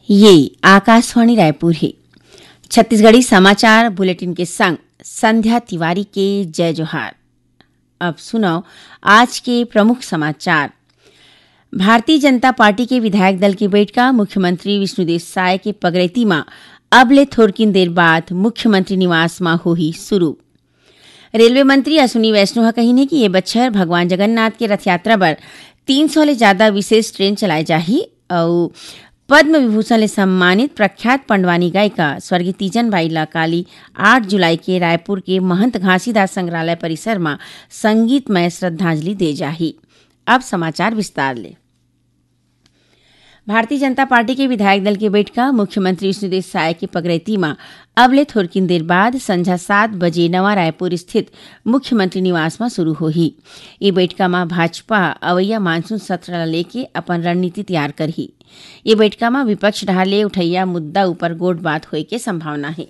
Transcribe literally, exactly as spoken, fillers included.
ये आकाशवाणी रायपुर हे। छत्तीसगढ़ी समाचार बुलेटिन के संग संध्या तिवारी के जय जोहार। अब सुनव आज के प्रमुख समाचार। भारतीय जनता पार्टी के विधायक दल के बइठका मुख्यमंत्री विष्णुदेव साय के पगरैती म अब ले थोरकिन देर बाद मुख्यमंत्री निवास म होही शुरू। रेलवे मंत्री अश्विनी वैष्णव ह कहिन हे कि ये बछर भगवान जगन्नाथ के रथ यात्रा बर तीन सौ ले जादा विशेष ट्रेन चलाए जाही अउ पद्म विभूषण ले सम्मानित प्रख्यात पंडवानी गायिका स्वर्गीय तीजन बाई ला काली आठ जुलाई के रायपुर के महंत घासीदास संग्रहालय परिसर म संगीतमय श्रद्धांजलि दे जाही। अब समाचार विस्तार ले। भारतीय जनता पार्टी के विधायक दल के बइठका मुख्यमंत्री विष्णुदेव साय के पगरैती म अब ले थोरकिन देर बाद संझा सात बजे नवा रायपुर स्थित मुख्यमंत्री निवास म शुरू होही। ये बइठका म भाजपा अवइया मानसून सत्र ल लेके अपन रणनीति तैयार करही। ये बइठका म विपक्ष डहार ले उठइया मुद्दा ऊपर गोठ बात होए के संभावना हे।